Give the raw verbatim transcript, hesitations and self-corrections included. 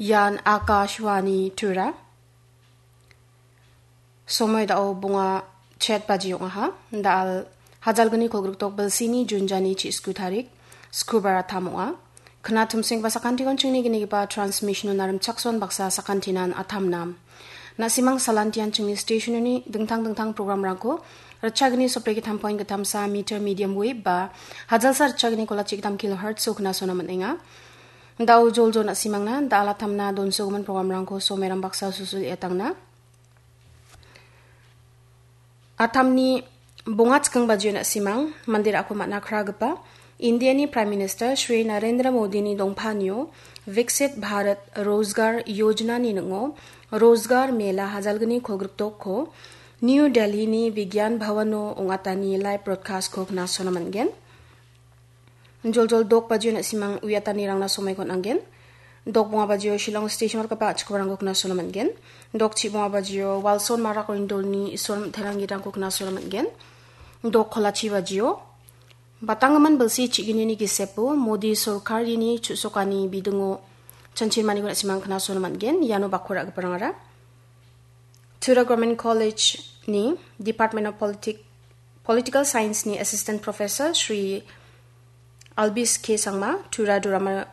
Ian Akashvani Tura. Somoi dao bonga chet baji ong·aha. Dal hajalgni kolgrikdok bilsini Junjani chi sku tarik, skubar atam ong·a. Kna tumsenggipa sakantikon chingni gnigipa transmission-o narimchakson baksa sakantinan atamnam. Na·simang salantian chingni station-oni dingtang dingtang programrangko ritchagni sopregittam point gittamsa meter medium wave ba hajalsa ritchagni kolachi gittam kilohertz-o knasona man·enga. Dao joljol na·simangna da·alatamna donsogimin programrangko someram baksa susul etangna. Atamni bonga chiking bajio na·simang mande ra·ko man·a kragipa Indiani Prime Minister Shri Narendra Modini dongpanio Viksit Bharat Rozgar Yojana-ni ning·o Rozgar Mela hajalgni kolgrikdokko New Delhi-ni Vigyan Bhavan-o ong·atani live broadcast-ko knasona man·gen. Joljol dok bajio na·simang uiatanirangna somoiko on·angen. Dok bonga bajio Shillong station-o rikgipa a·chikobarangko knasona man·gen. Dok chi bonga bajio Walson Marak Oindolni Isol Mitterang gidanko knasona man·gen. Dok kolachi bajio batanggimin bilsi chi·gnini gisepo Modi sorkarini chu·sokani bidingo chanchirmaniko na·simang knasona man·gen. Iano bakko ra·giparangara Tura Government College-ni Department of Politic-, Political Science-ni Assistant Professor Shri Albis K Sangma, Tura Drama